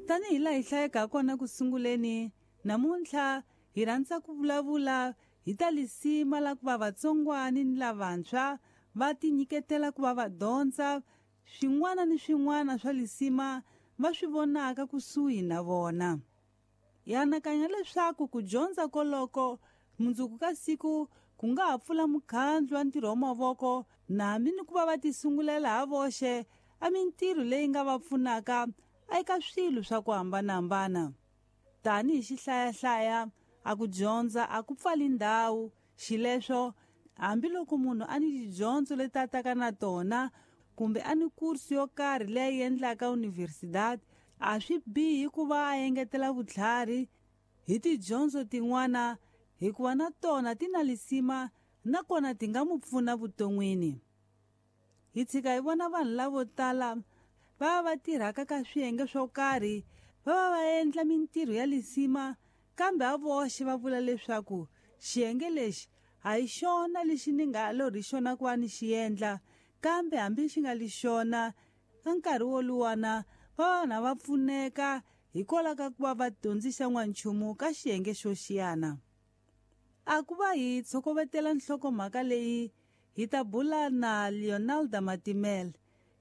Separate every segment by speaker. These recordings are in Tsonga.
Speaker 1: Tanihi laha hi hlayeke ha kona ku sunguleni, namuntlha hi rhandza ku vulavula hi ta lisima la ku va vatsongwani ni lavantshwa va tinyiketela ku va va dyondza swin'wana ni swin'wana swa lisima va swi vonaka kusuhi na vona. Hi anakanya leswaku ku dyondza koloko mundzuku ka siku ku nga ha pfula mukhandlu wa ntirho wa mavoko na hambi ni ku va va tisungulela ha voxe a mintirho leyi nga va pfunaka eka swilo swa ku hambanahambana. Tanihi xihlayahlaya, a ku dyondza a ku pfali ndhawu, xileswo hambiloko munhu a ni tidyondzo leti a taka na tona kumbe a ni kursu yo karhi leyi a yi endlaka universidade, a swi bihi ku va a engetela vutlhari hi tidyondzo tin'wana hikuva na tona ti na lisima nakona ti nga mu pfuna vuton'wini. Hi tshika hi vona vanhu lavo tala va va va tirhaka ka swiyenge swo karhi va va va endla mintirho ya lisima kambe a voxe va vula leswaku xiyenge lexi a hi xona lexi ni nga lorhi xona ku va ni xi endla kambe hambi xi nga li xona ka nkarhi woluwana va va na va pfuneka hikwalaho ka ku va va dyondzisa n'wanchumu ka xiyenge xo xiyana. A ku va hi tshokovetela nhlokomhaka leyi hi ta bula na Leonalda Matimele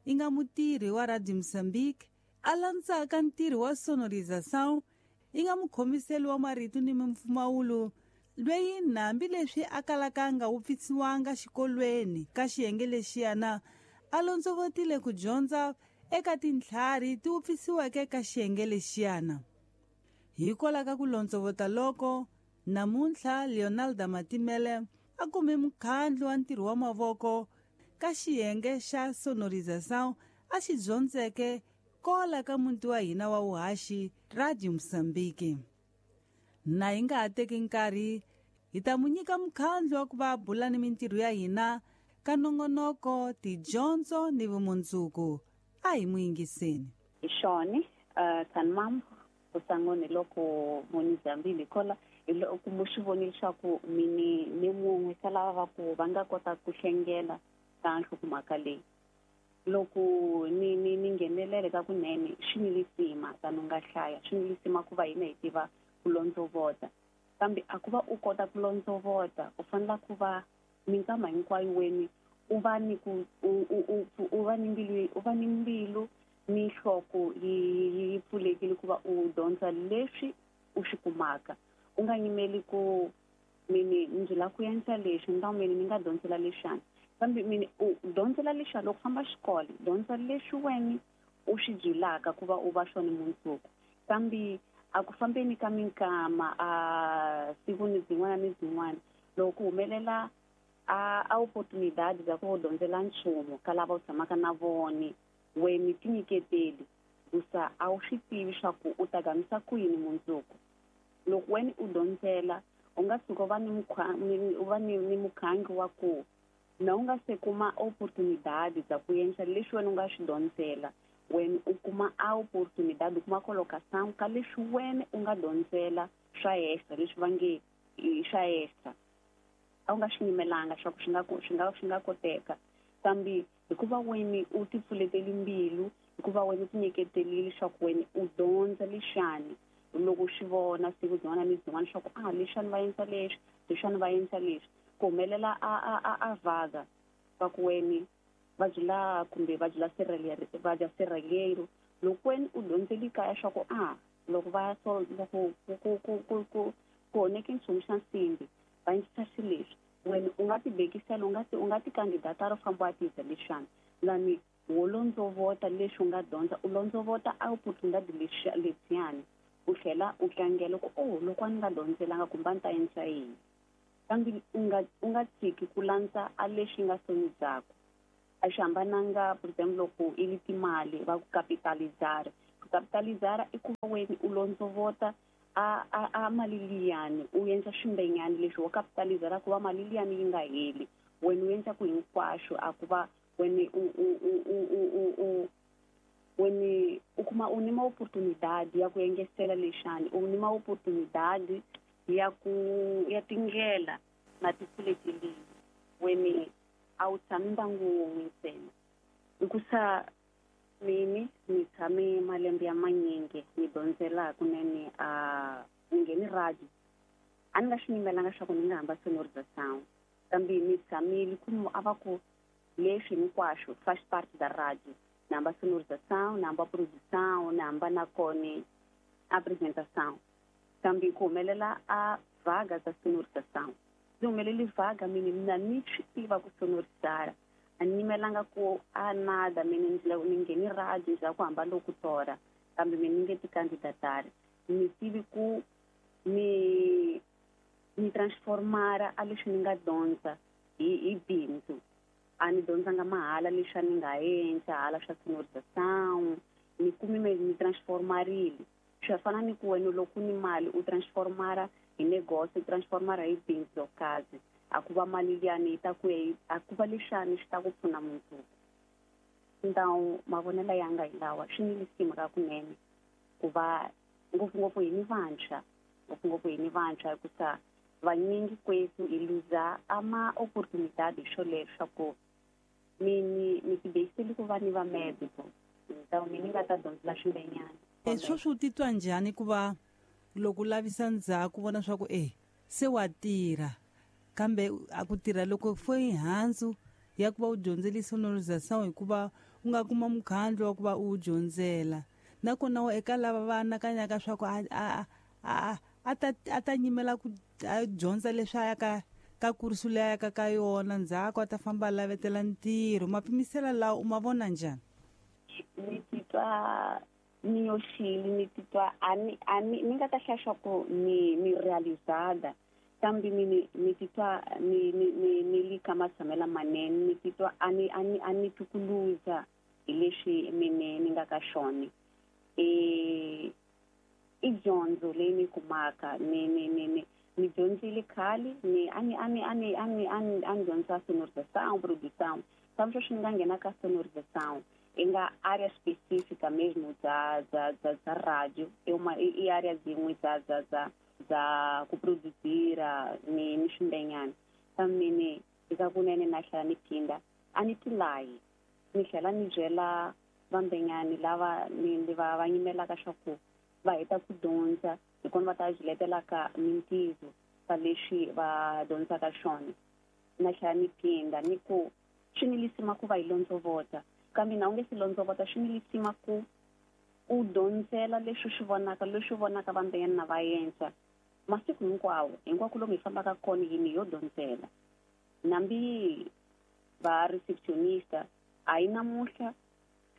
Speaker 1: i nga mutirhi wa Radio Mozambique a landzaka ntirho wa sonorização i nga mukhomiseli wa marito ni mimpfumawulo lweyi hambi leswi a kalaka a nga wupfisiwanga xikolweni ka xiyenge lexiyana a londzovotile ku dyondza eka tintlhari ti wupfisiweke ka xiyenge lexiyana. Hikwalaho ka ku londzovota loko, namuntlha Leonalda Matimele a kume mukhandlu wa ntirho wa mavoko ka xiyenge xa sonorização a xi dyondzeke kola ka muti wa hina wa vuhaxi Radio Mozambique. Na hi nga ha teki nkarhi hi ta mu nyika mukhandlu wa ku va bula ni mintirho ya hina ka nongonoko tidyondzo ni vumundzuku. A hi mu yingiseni.
Speaker 2: Hi xona Tsanimam kusangoni loko moni dzambile kola hi loko mu swi vonile leswaku mini ni mun'we ka lava va ku va nga kota ku hlengela ka nhlokomhaka leyi. Loko ni ni ni nghenelele ka kunene swi ni lisima tani u nga hlaya swi ni lisima ku va hina hi tiva ku londzovota kambe a ku va u kota ku londzovota u fanela ku va minkama hinkwayo weni u va ni ku u u u u va ni mbilu u va ni mbilu ni nhloko yi yi pfulekile ku va u dyondza leswi u swi kumaka. U nga yimeli ku mini ndzi lava ku endla leswi ni ta mini ni nga dyondzela lexana kambe mini u dyondzela lexiya loko famba xikolo dyondza leswi wena u swi byelaka ku va u va swona mundzuku kambe a ku fambeni ka minkama a siku ni byin'wana ni byin'wana loko ku humelela a a oportunidade bya ku u dyondzela nchumu ka lava u tshamaka na vona wena tinyiketeli hikusa a wu swi tivi swa ku u ta gamisa ku yini mundzuku. Loko wena u dyondzela u nga tshuka u va ni u va ni ni mukhangi wa ku na u nga se kuma oportunidade bya ku endla leswi wena u nga swi dyondzela wena u kuma a oportunidade u kuma colocação ka leswi wena u nga dyondzela swa extra leswi va nge i swa extra. A wu nga swi yimelanga swa ku swi nga swi nga swi nga koteka kambe hikuva wena u ti pfuleteli mbilu hikuva wena u tinyiketelile leswaku wena u dyondza lexani loko u swi vona siku byin'wana ni byin'wana leswaku a lexani va endla leswi lexani va endla leswi ku humelela a a a a vaga va ku wena va byela kumbe va byela va dya sirhelelo loko wena u dyondzeli kaya swa ku a loko va so loko ku ku ku ku ku ku onheke nchumu xa nsimbi va endlisa xilo leswi wena u nga ti bekisela u nga ti u nga ti kandidata ro famba wa tiza leswiwani lani wo londzovota leswi u nga dyondza u londzovota a oportunidade lexiya lebiyani u tlhela u tlangela ku oh loko a ni nga dyondzelanga kumbe a ni ta endla yini kambe u nga u nga tshiki ku landza a leswi nga soni byakwe a swi hambananga for example loko i li timali va ku capitalizara ku capitalizara i ku va wena u londzovota a a a mali liyani u endla swimbenyani leswi wo capitalizara ku va mali liyani yi nga heli wena u endla ku hinkwaswo a ku va wena u u u u u u u wena u kuma u nima oportunidade ya ku engesela lexani u nima oportunidade ya ku ya tindlela na ti pfulekelile wena a wu tshami mbangu wun'we ntsena hikusa. Mini ni tshame malembe ya manyingi ni dyondzela kunene a ni ngheni radio. A ni nga swi nyimelanga swa ku ni nga hamba sonorização, kambe ni tshamile ku a va ku leswi hinkwaswo faz parte da rádio. Ni hamba sonorização, ni hamba produção, ni hamba na kone apresentação. Kambe ku humelela a vaga za sonorização. Ndzi humeleli vaga mini mina ni swi tiva ku sonorizara. A ni nyimelanga ku a nada mini ni ngheni radio ndzi lava ku hamba lokutora, kambe mina ni nge ti candidatari. Ni tivi ku ni transformara a leswi ni nga dyondza hi bindzu. A ni dyondzanga mahala leswi a ni nga endla hala swa sonorização, ni kumi ni transformarile. Swi fana ni ku wena loko ni mali u transformara hi negócio, u transformara hi bindzu yo kazi. A ku va mali liyani yi ta ku a ku va lexani xi ta ku pfuna mundzuku. Então mavonelo ya nga hi lawa, swi ni lisima ka kunene ku va ngopfungopfu hi ni vantshwa, ngopfungopfu hi ni vantshwa hikusa vanyingi kwetu hi luza ama oportunidade xoleswo ku mini ni tibekiseli ku va ni va médico. Então mini nga ta dyondzela swimbenyana.
Speaker 1: Sweswi u titwa njhani ku va loko u lavisa ndzhaku vona swa ku se wa tirha, kambe a ku tirha loko foi handzu ya ku va u dyondzele sonorização hikuva u nga kuma mukhandlu wa ku va u dyondzela. Nakona eka lava va anakanyaka swa ku a ta nyimela ku dyondza leswi a yaka ka kursu leyi a yaka ka yona, ndzhaku a ta famba a lavetela ntirho. Mapimisela lawa u ma vona njhani?
Speaker 2: Ni titwa ni yoxile, ni titwa a ni ni nga ta hlaya swa ku ni realizada, kambe ni titwa ni ni ni ni li ka matshamela manene, ni titwa a ni a ni a ni tukuluza hi leswi mine ni nga ka xona. I dyondzo leyi ni kumaka ni ni ni ni ni dyondzile khale, ni a ni a ni a ni a ni a ni a ni dyondza sonorização, produção. Sabe sweswi ni nga nghena ka sonorização i nga área específica mesmo da da da da rádio, é uma i área zin'we da da da da ku produzira ni ni swimbenyana. Kambe ni eka kunene na tlhela ni phinda a ni tilayi, ni tlhela ni byela vambenyani lava ni va nyimelaka swa ku va heta ku dyondza hi kona va ta byiletelaka mintirho ka leswi va dyondzaka swona. Na tlhela ni phinda ni ku swi ni lisima ku va hi londzovota, kambe na u nge si londzovota swi ni lisima ku u dyondzela leswi swi vonaka, leswi vonaka vambenyani na va endla masiku hinkwawo. Hinkwako lomu hi fambaka kona yini yo dyondzela. Nambi va receptionista a yi namuntlha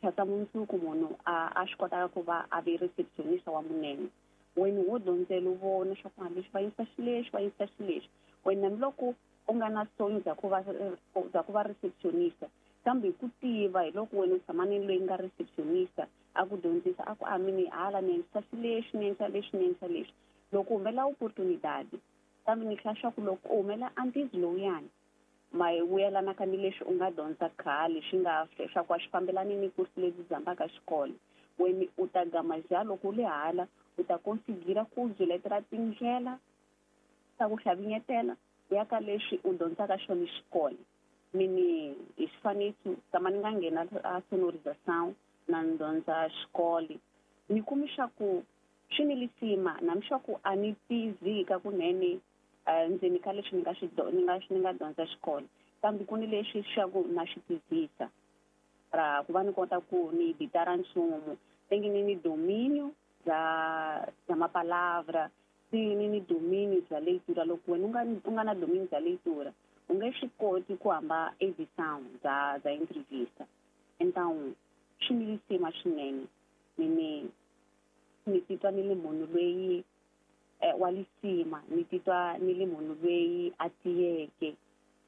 Speaker 2: khatsa mundzuku munhu a swi kotaka ku va a ve receptionista wa munene. Wena wo dyondzela u vona swa ku leswi va yisa xilexi, va yisa xilexi. Wena hambiloko u nga na sonyo bya ku va bya ku va receptionista, kambe hi ku tiva hi loko wena u tshama ni loyi nga receptionista a ku dyondzisa a ku a mini hala ni endlisa xilexi, ni endlisa lexi, ni endlisa lexi. Loko u humela opportunidade, kambe ni hlaya swa ku loko u humela antizi lowuyani ma vuyelanaka ni leswi u nga dyondza khale swi nga swa ku a swi fambelani ni kursu lebyi dzambaka xikolo, wena u ta gama ja loko u le hala u ta konsigira ku byiletela tindlela ta ku hlavinyetela ya ka leswi u dyondzaka xona xikolo. Mini hi xifaniso tama ni nga nghena a sonorização na ni dyondza xikolo, ni kumi swa ku swi ni lisima na mi swa ku a ni tizika kunene ndzeni ka leswi ni nga swi ni nga dyondza xikolo, kambe ku ni leswi swa ku na swi tizisa ra ku va ni kota ku ni editara nchumu tenge ni dominio bya mapalavra, ni dominio bya leitura. Loko wena u nga na dominio bya leitura u nge swi koti ku hamba edição bya entrevista. Então swi ni lisima swinene. Mini ni titwa ni li munhu loyi wa lisima, ni titwa ni li munhu loyi a tiyeke,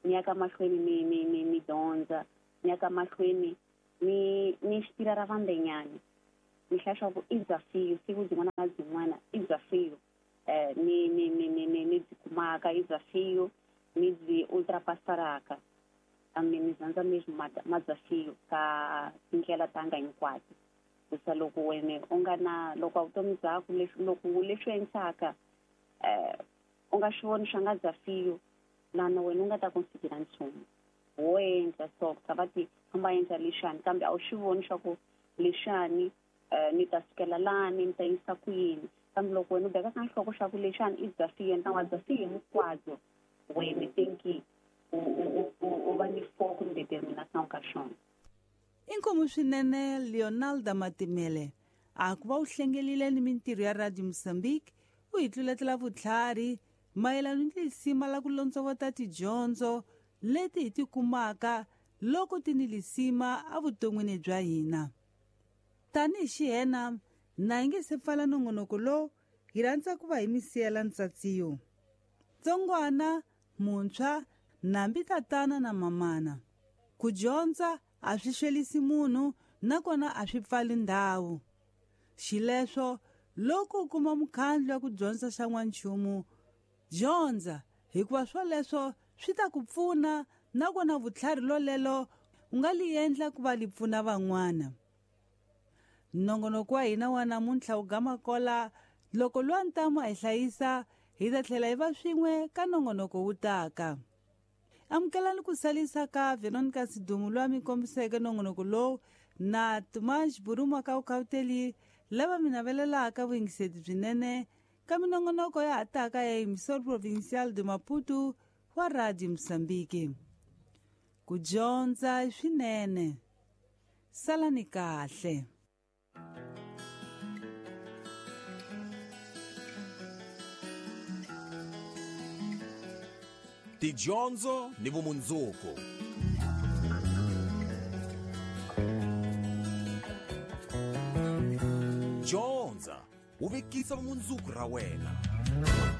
Speaker 2: ni ya ka mahlweni ni ni ni ni dyondza, ni ya ka mahlweni ni ni xitira ra vambenyani. Ni hlaya swa ku i desafio siku byin'wana na byin'wana, i desafio ni ni ni ni ni ni byi kumaka, i desafio ni byi ultrapassaraka. Kambe ni dyondza mesmo ma desafio ka tindlela tanga hinkwato. Kusa loko wena u nga na loko vutomi byaku leswi loko leswi endlaka u nga swi voni swa nga desafio lana wena u nga ta konsigira nchumu wo endla so va ti famba endla lexani, kambe a wu swi voni swa ku lexani ni ta sukela lani ni ta yisa ku yini. Kambe loko wena u beka ka nhloko xa ku lexani i bya swiyenge wa bya hinkwabyo, wena thinki u va ni focus ni determination ka xona.
Speaker 1: Inkomu swinene Leonalda Matimele a ku va u hlengelile ni mintirho ya Radio Mozambique u hi tluletela vutlhari mayelana ni lisima la ku londzovota tidyondzo leti hi ti kumaka loko ti ni lisima evuton'wini bya hina. Tanihi xihena na hi nge se pfala nongonoko lowu, hi rhandza ku va hi mi siyela ntsatsiyo. Tsongwana, muntshwa, nambi tatana na mamana. Ku dyondza a swi xwelisi munhu nakona a swi pfali ndhawu. Xileswo loko u kuma mukhandlu wa ku dyondza xa n'wanchumu, dyondza hikuva swoleswo swi ta ku pfuna nakona vutlhari lolelo u nga li endla ku va li pfuna van'wana. Nongonoko wa hina wa namuntlha wu gama kola loko lwa ntamu a hi hlayisa hi ta tlhela hi va swin'we ka nongonoko wu taka. Amukelani ku salisa ka Veronica Sidumu loyi a mi kombiseke nongonoko lowu na Tomas Buruma ka Ukhauteli lava mi navelelaka vuyingiseti byinene ka minongonoko ya ha taka ya Emissor Provincial de Maputo wa Radio Mozambique. Ku dyondza i swinene. Salani kahle.
Speaker 3: Tidyondzo ni vumundzuku. Dyondza u vekisa vumundzuku ra wena.